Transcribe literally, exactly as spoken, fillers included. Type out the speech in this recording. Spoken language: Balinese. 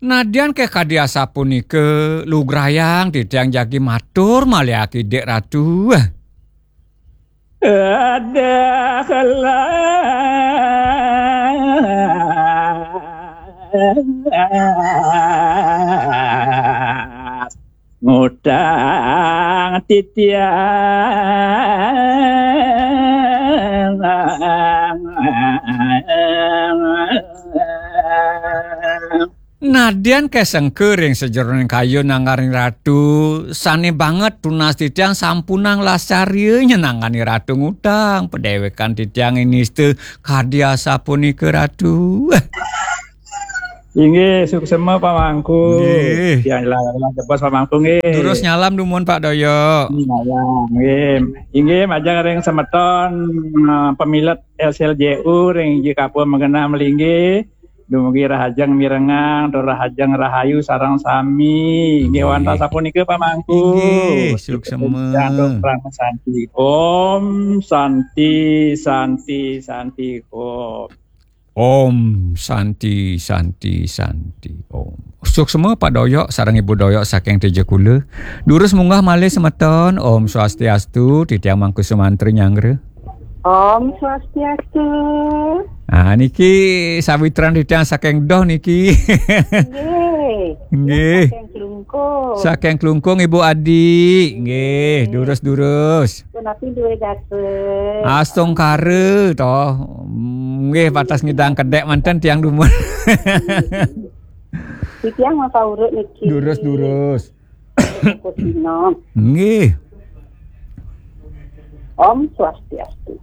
Nadyan ké kadi asapunika lugrayang titiang jagi matur malih akidik Ratu. Ada kelas ngutang titiang. Nadyan ké sengka ring sajeroning kayun nangganing Ratu, sané banget tunas titiang sampunang lascarya nyenangani Ratu ngutang, padéwékan titiang nista kadi asapunika Ratu. Inggih, suksema Pak Mangku. Nggih. Tiang ilang-ilang jebos Pak Mangku nggih. Durus nyalam dumun Pak Doyok. Nyalam nggih. Inggih, majeng ring semeton eh, pamilet L C L J U ring J K P U Magenah malinggih. Dumugi rahajeng mirengang, tur rahajeng rahayu sareng sami. Inggih, nggih. Wantah sapunika Pak Mangku. Inggih, suksema. Om Santi, Santi, Santi, Om. Om Santi, Santi, Santi, Om. Suksema Pak Doyok sareng Ibu Doyok saking Teja Kula. Durus munggah malih semeton. Om Swastiastu, titiang Mangku Sumantri nyanggra. Om Swastiastu. Ah, niki sawitran titiang saking Doh niki. Nggih. Nggih. Saking Klungkung. Saking Klungkung, Ibu Adi. Nggih, durus-durus. Punapi duwe gasa. Astungkara to. Nggih, patas ngidang kedék manten tiang dumun. Titiang maka urut niki. Durus-durus. Kusino. Nggih. Om Swastiastu.